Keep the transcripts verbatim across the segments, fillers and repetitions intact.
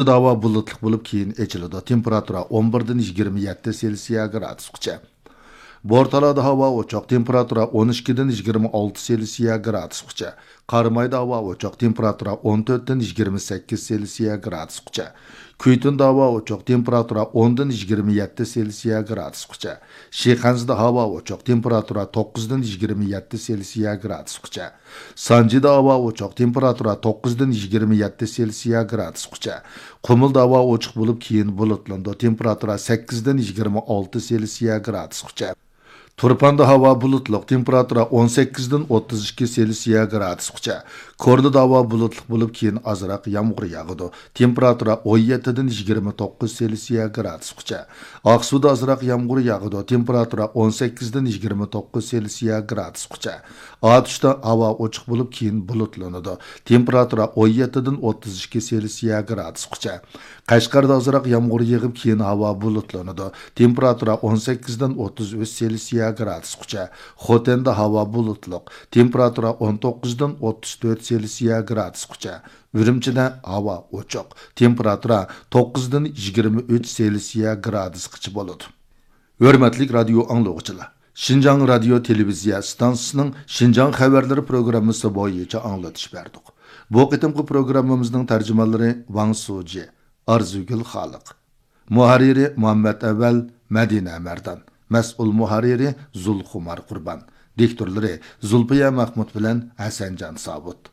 ھاۋا بۇلۇتلۇق بولۇپ، كېيىن ئېچىلىدۇ. تېمپېراتۇرا ئون بىردىن يىگىرمە يەتتە سېلسىيە گرادۇسقىچە. بورتالادا ھاۋا ئوچۇق، تېمپېراتۇرا ئون ئىككىدىن يىگىرمە ئالتە سېلسىيە گرادۇسقىچە. قارامايدا ھاۋا ئوچۇق، تېمپېراتۇرا ئون تۆتتىن يىگىرمە سەككىز سېلسىيە گرادۇسقىچە. كۈيتۇندا ھاۋا ئوچۇق، تېمپېراتۇرا ئوندىن يىگىرمە يەتتە سېلسىيە گرادۇسقىچە. شىخەنزىدە ھاۋا ئوچۇق، تېمپېراتۇرا توققۇزدىن يىگىرمە يەتتە سېلسىيە گرادۇسقىچە. سانجىدا ھاۋا ئوچۇق، تېمپېراتۇرا توققۇزدىن يىگىرمە يەتتە سېلسىيە گرادۇسقىچە. قۇمۇلدا ھاۋا ئوچۇق بولۇپ، كېيىن بۇلۇتلىنىدۇ، تېمپېراتۇرا سەككىزدىن يىگىرمە ئالتە سېلسىيە گرادۇسقىچە. تۇرپاندا ھاۋا بۇلۇتلۇق، تېمپېراتۇرا ئون سەككىزدىن ئوتتۇز ئىككى سېلسىيە گرادۇسقىچە. كورلىدا ھاۋا بۇلۇتلۇق بولۇپ، كېيىن ئازراق يامغۇر ياغىدۇ، تېمپېراتۇرا ئون يەتتىدىن يىگىرمە توققۇز سېلسىيە گرادۇسقىچە. ئاقسۇدا ئازراق يامغۇر ياغىدۇ، تېمپېراتۇرا ئون سەككىزدىن يىگىرمە توققۇز سېلسىيە گرادۇسقىچە. ئاتۇشتا ھاۋا ئوچۇق بولۇپ، كېيىن بۇلۇتلىنىدۇ، تېمپېراتۇرا ئون يەتتىدىن ئوتتۇز ئىككى سېلسىيە گرادۇسقىچە. قەشقەردە ئازراق يامغۇر يېغىپ، كېيىن ھاۋا بۇلۇتلىنىدۇ، تېمپېراتۇرا ئون سەككىزدىن ئوتتۇز ئۈچ سېلسىيە گرادۇسقىچە. خوتەندە ھاۋا بۇلۇتلۇق، تېمپېراتۇرا ئون توققۇزدىن ئوتتۇز تۆت سېلسىيە گرادۇسقىچە. ئۈرۈمچىدە ھاۋا ئوچۇق، تېمپېراتۇرا توققۇزدىن يىگىرمە ئۈچ سېلسىيە گرادۇسقىچە بولىدۇ. ھۆرمەتلىك رادىيو ئاڭلىغۇچىلار، شىنجاڭ رادىيو تېلېۋىزىيە ئىستانسىسىنىڭ شىنجاڭ خەۋەرلىرى پروگراممىسى بويىچە ئاڭلىتىش بەردۇق. بۇ قېتىمقى پروگراممىمىزنىڭ تەرجىمانلىرى ۋاڭ سۇجى، ئارزۇگۈل خالىق. مۇھەررىرى مۇھەممەت ئەۋەل، مەدىنە مەردان. مەسئۇل مۇھەررىرى زۇلخۇمار قۇربان. دىكتورلىرى زۇلپىيە مەخمۇت بىلەن ھەسەنجان سابىت.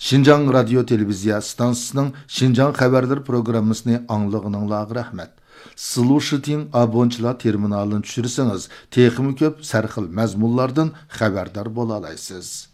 شىنجاڭ رادىيو تېلېۋىزىيە ئىستانسىسىنىڭ شىنجاڭ خەۋەرلىرى پروگراممىسىنى ئاڭلىغىنىڭلارغا رەھمەت. سلۇشىتىڭ ئابونچىلار تېرمىنالىنى چۈشۈرسىڭىز، تېخىمۇ كۆپ سەرخىل مەزمۇنلاردىن خەۋەردار بولالايسىز.